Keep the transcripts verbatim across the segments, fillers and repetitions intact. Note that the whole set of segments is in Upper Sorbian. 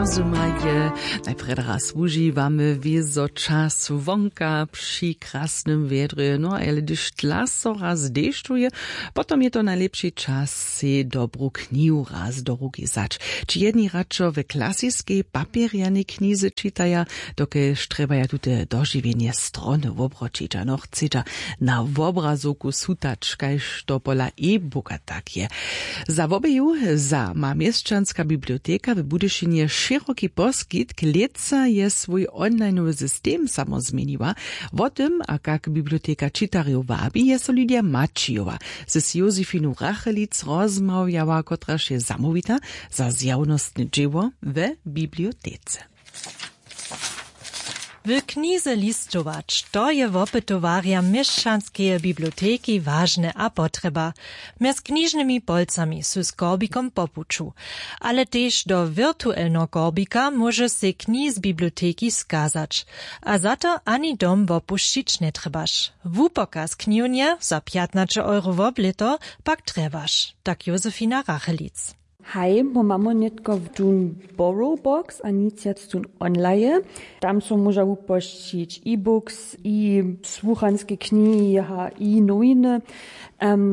Zymaj je. Najprjedy raz wužiwamy wězo čas wonka při krasnym wjedrje, no ale hdyž tla so raz dešćuje, potom je to najlěpši čas sej dobru knihu raz do ruki wzać. Ći jedni radšo w klasiskej papjerjanej knize čitaja, dokelž trjebaja tute dožiwjenje strony wobroćić a nochceća na wobrazowku sutać kaž to pola e-booka tak je. Za wobeju za ma měšćanska biblioteka w budyšinje šěroki poskitk. Lětsa je swój onlineowy system samo změniła. Wo tym a kak biblioteka čitarjow wabi je so lydia maćijowa z josefinu rachelic rozmawjała kotraž je zamołwita za zjawnostne dźěło we bibliotece. W knize listować to je wopytowarjam měšćanskeje biblioteki wažne a potrjeba. Mjez knižnymi polcami su z korbikom po puću, ale tež do wirtuelneho korbika móžeš sej knihi z biblioteki skazać. A za to ani dom wopušćić njetrjebaš. Wupokaz knihownje za pjatnaće euro woblěto pak trjebaš, tak josefina rachelic. Haj, my mamy nětko tón borrowbox a nic wjac tón onlaje. Tam so móža wupošćić e-books i słuchanske knihi a i nowiny.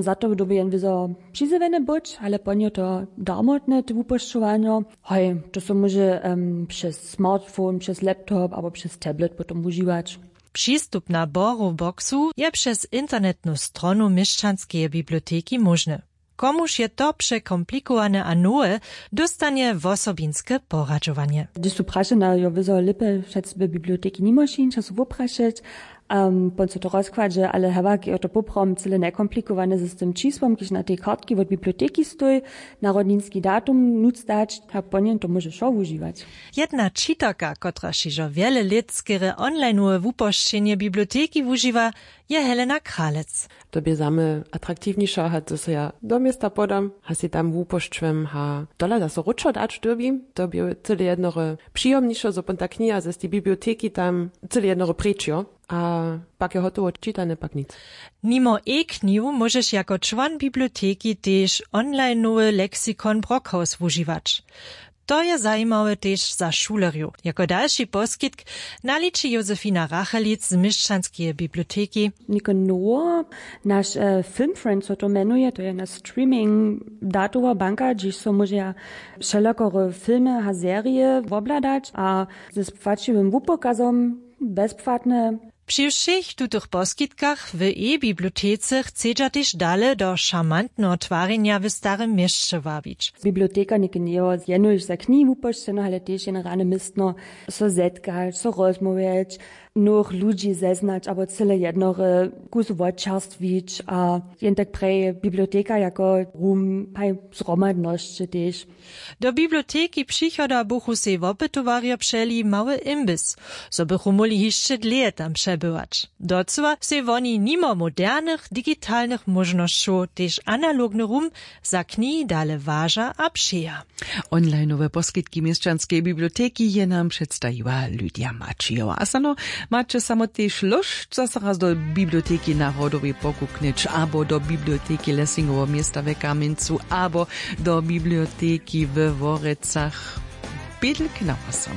Za to dyrbi jen wězo přizjewjene być ale po nje to darmotne te wupošćowanjo. Haj, to so móže přez smartphone přez laptop abo přez tablet potom wužiwać. Přistupna borrowboxu je přez internetnu stronu měšćanskeje biblioteki móžne. Komuž je to překomplikowane a nowe, dóstanje wosobinske poradźowanje. Hdyž su prašena jo wězo lěpje přez w biblioteki nimo šinča su woprašeć. Pon so to rozkładźe ale hewak jo to poprawom cyle njekomplikowane z tym čisłom kiž na tej kartki wot biblioteki stoj, narodninski datum nutř dać a pon jen to móže wšo wužiwać. Jedna čitarka kotraž hižo wjele lět skerje onlineowe wupošćenje biblioteki wužiwa, je helena kralec. To bě za mnje atraktiwniše hač zo so ja do města podam hač sej tam wupošćujem hač tola da so wróćo dać dyrbim. To bě cyle jednore přijomniše zo pon ta kniha z tej biblioteki tam cyle jednore preč jo. A pak je hotowo čitane pak nic. Nimo e-knihu móžeš jako čłon biblioteki tež onlineowy lexikon brockhaus wužiwać. To je zajimawe tež za šulerjow jako dalši poskitk. Naliči josefina rachelic z měšćanskeje biblioteki. Něko nowo, naš filmfriend so to mjenuje to je na streaming datowa banka hdźež so móžeja wšelakore filmy a serije wobhladać a z płaćiwym wupokazom bezpłatne. Při wšěch tutych poskitkach w e-bibliotece chcedźa tež dale do šarmantneho twarjenja w starym měsće wabić. Biblioteka něke njejo jenož za knihi wupošćena ale tež jen rane městno, so zetkać so rozmołwjeć, nowych ludźi zeznać abo cyle jednore kus wočerstwić a jen tak prje biblioteka jako rum haj zhromadnosće tež. Do biblioteki přichoda buchu sej wopytowarjo přeli mały imbys, zo bychu móhli hišće dlěje tam přebywać. Docyła sej woni nimo modernych digitalnych móžnosćow tež analogny rum za knihi dale waža a přeja. Onlineowe poskitki měšćanskeje biblioteki je nam předstajiła lydia maćijowa a sano, maće samo tež lóšt zaso raz do biblioteki narodowej pokuknyć abo do biblioteki lessingoweho města w kamjencu abo do biblioteki we worecach. Bědlk na wosom.